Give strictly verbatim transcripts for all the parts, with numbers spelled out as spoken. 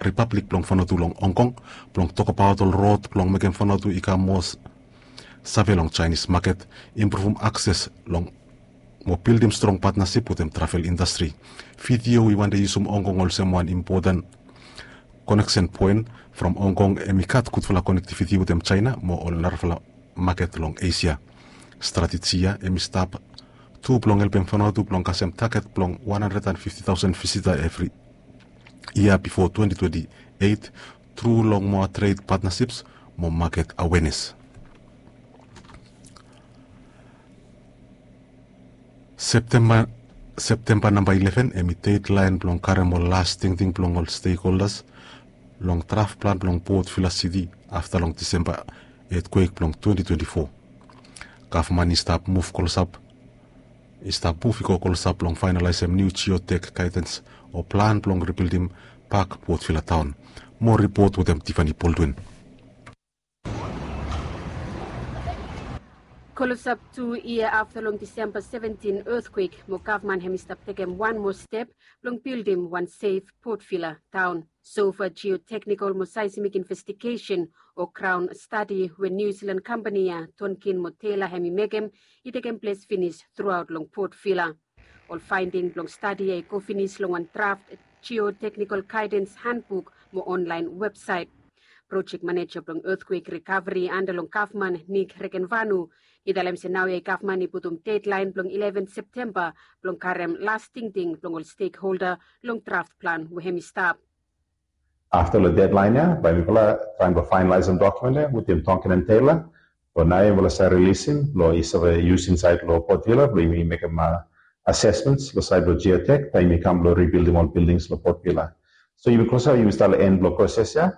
Ripablik blong Vanuatu long Hong Kong blong tokbaot ol rod blong mekem Vanuatu i kam moa save long Chinese maket, impruvum akses long mo bildim strong patnasip wetem travel indastri. Video i wande yusum Hong Kong olsem wan impoten koneksen poen from Hong Kong, hem i gat gudfala konektiviti wetem China mo ol narafala maket long Asia. Strateji ya hem i stap tu blong helpem Vanuatu blong kasem taget blong wan handred and fifti taosen visita evri yia bifo twenti twenti eit tru long moa tred patnasips mo maket awenes. Septemba, Septemba namba ileven hem i dedlaen blong karem ol las tingting blong ol stekholdas long draf plan blong Port Vila Siti afta long Disemba etkwek blong twenti twenti fo. Gavman i stap muv klosap, i stap muv i go klosap blong faenalaesem niu jiotek gaedens o plan blong ribildim bak Port Vila taon. Moa ripot wetem Tiffany Baldwin. Klosap tu yia afta long Disemba seventin etkwek mo gavman hem i stap tekem wan moa step blong bildim wan sef Port Vila taon. Sofa jioteknikol mo saesmik investigesen o graon stadi we Niu Silan kampani ya Tonkin mo Tela hem i mekem i tekem ples finis truaot long Port Vila. Ol faending blong stadi ya i go finis long wan draf jioteknikol gaedens hanbuk mo onlaen websaet. Projek maneja blong etkwek rikaveri anda long gavman Nik Regenvanu i talem se naoia gavman i putum dedlaen blong ileven Septemba blong karem las tingting blong ol stekholda long draf plan we hem i stap. Afta long dedlaen ya bae mifala traem blong faenalaesem dokumen ya wetem Tonkin and Tela. Blong naoia mifala save rilisim blong i save yus insaed long Port Vila blong yumi mekem asesmens long saed blong jiotek taem yumi kam blong ribildim ol bildings long Port Vila. So yumi klosap yumi stap long en blong proses ya.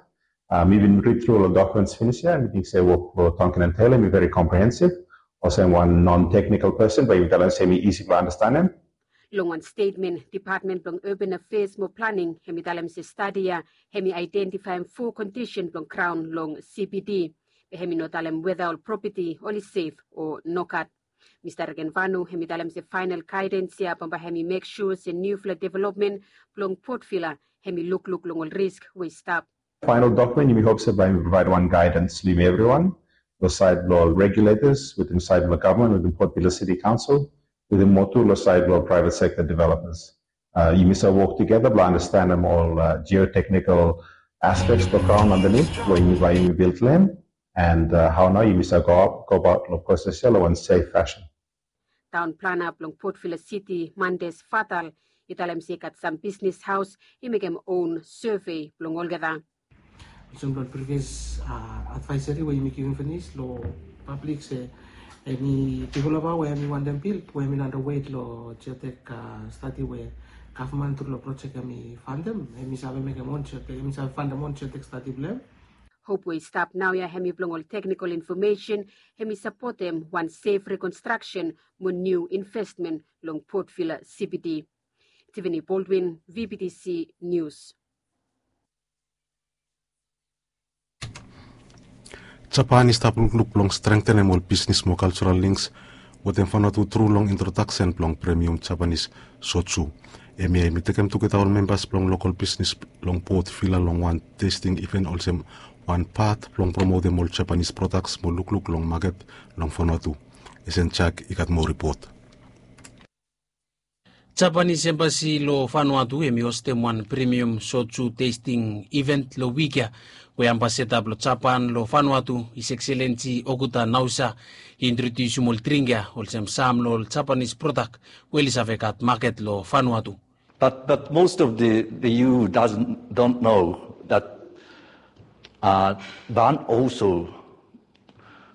Mi bin rid tru ol dokumens finis ya, mi ting se wok blong Tonkin and Tela hem i veri komprehensiv. Olsem wan non teknikol pesen bae yumi talem se hem i isi blong andastanem. Long wan stetmen, Depatmen blong Urban Affairs mo Planning hem i talem se stadi ya hem i aedentifaem fo kondisen blong graon long C B D. Be hem i no talem weta ol propeti oli sef o nogat. Mista Regenvanu hem i talem se faenal gaedens ya bambae hem i mek sua se niufala developmen blong Port Vila hem i lukluk long ol risk we i stap. Faenal dokumen yumi hop se bae yumi provaed wan gaedens long yumi evriwan long saed blong ol regulators wetem saed blong gavman wetem Port Vila City Council wetem moa tu long saed blong ol praevet sekta developers. Yumi save wok tugeta blong andastanem ol jioteknikol aspeks blong graon andanit blong yumi bae yumi bildim. And hao nao yumi save go gobaot long proses ya long wan sef fasin. Taon plana blong Port Vila Siti Mandes Fatal i talem se i gat sam bisnis haos i mekem own sove blong olgeta. Olsem blong previous advaesari we yumi givim finis long pablik se eni developa we hem i wantem bil we hem i no anda wet long jiotek stadi we gavman tru long projek hem i fantem, hem i save mekem on jiotek, hem i save fantem on jiotek stadi blong hem. Hop we i stap naoia hem i blong ol teknikol infomesen hem i sapotem wan sef rikonstraksen mo niu investmen long Port Vila C B D. Tiffany Baldwin, V B T C News. Japan i stap lukluk blong strengtenem ol bisnis mo kaljoral links wetem Vanuatu tru long introdaksen blong premium Japanese soju. Hemia i tekem tugeta ol membas blong lokol bisnis long Port Vila long wan testing iven olsem wan pat blong promotem ol Japanese prodaks mo lukluk long maket long Vanuatu. Esen Jak i gat moa ripot. Japanese Embassy long Vanuatu hem i hostem wan premium soju testing event long wik ya, we ambasada blong Japan long Vanuatu, His Excellency Okuda Naosa, i introdiusim ol dring ya olsem sam long ol Japanese prodak we oli save gat maket long Vanuatu. But, but most of the, the E U doesn't, don't know that uh, Van also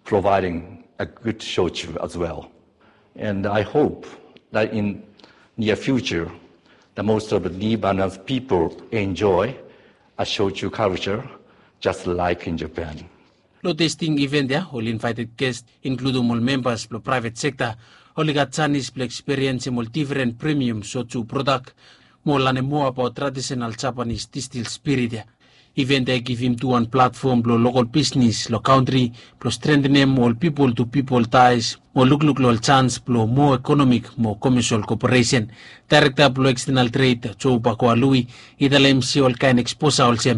providing a good shochu as well. And I hope that in near future, the most of the Lebanon people enjoy a shochu culture just like in Japan. Long testing event ya, ol invited guest, inkludum ol membas blong private sekta, oli gat janis blong eksperiensem ol difren premium soju prodak, mo lanem moa abaot traditional Japanese distil spirit ya. Iven tae givim tu wan platfom blong lokol bisnis long kantri blong strengtenem ol pipol tu pipol tais mo lukluk long ol sans blong moa ekonomik mo komesol koperesen. Daerekta blong ekstenal tred, Joe Bakoa Lui, i talem se ol kaen eksposa olsem